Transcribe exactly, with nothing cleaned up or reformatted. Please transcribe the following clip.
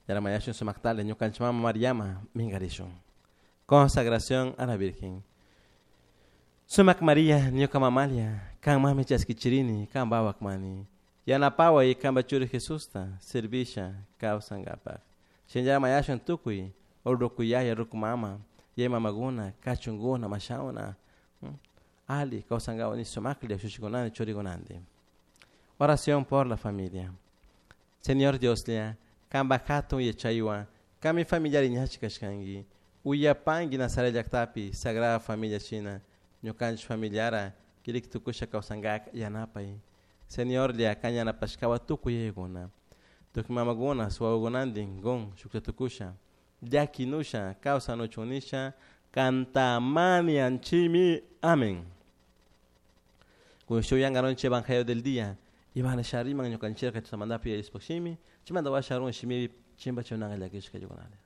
Yaramayashun sumaktale ñukanchik mama Mariama minkarishun. Consagración a la Virgen. Sumak María ñuka mamalia kanmanmi chaskichirini kan wawakmani yanapaway kanpa churi Jesusta servisha kawsankapak. Shinallara mayashun tukuy ruku yaya ruku mama yaya mamakuna kachunkuna mashawna ali kawsankapak ni sumaklla ushushikunanti churikunanti. Oración por la familia. Señor Dioslla kanpak hatun yachaywan kanmi familiari ñachik kashkanki uyapanki Nazaret llaktapi Sagrada Familia shina ñukanchik familiara kirik tukusha kawsankak yanapay. Señorlla kan yanapashkawan tukuy yayakuna tukuy mamakuna wawakunantin kun shuklla tukusha llakinusha kawsanuchun nisha kantamanianchimi. Amén. Kun shuk yankarunchik evangelio del día Ivana shariman ñukanchikka chaymantapi yayashpa shimi chaymanta washa run shimipi chimpa chunanka llakishka yukunalla.